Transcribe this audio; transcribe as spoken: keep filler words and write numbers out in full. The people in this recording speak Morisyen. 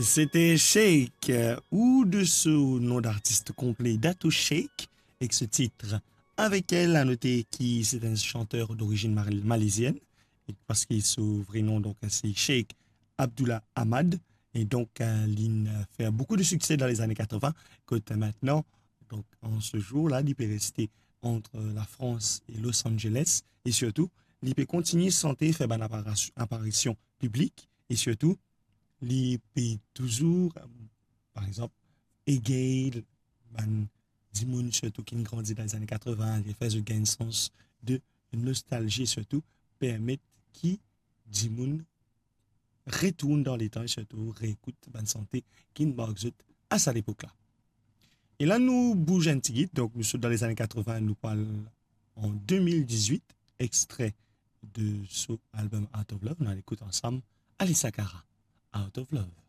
C'était Sheik, euh, ou de son nom d'artiste complet, Dato Sheik, avec ce titre. Avec elle, à noter que c'est un chanteur d'origine mar-, malaisienne, et parce que son vrai nom, donc, c'est Sheik Abdullah Ahmad. Et donc, euh, il a fait beaucoup de succès dans les années quatre-vingts, que maintenant, donc, en ce jour-là, il peut rester entre la France et Los Angeles. Et surtout, il peut continuer à chanter, faire une apparition, apparition publique. Et surtout, li pe touzour, euh, par exanp, egey bann dimoun sirtou ki grandi dan lezane katrevin, li fer zot gagn sans de nostalzi, sirtou permet ki dimoun retourn dan letan, sirtou reekout bann sante ki mark zot a sa lepok la. E la nou bouze enn tigit, donk nou sot dan lezane katrevin, nou pou al an de mil dizwit, extrait de son album Out of Love, nou al ekout ansam Alessia Cara, Out of Love.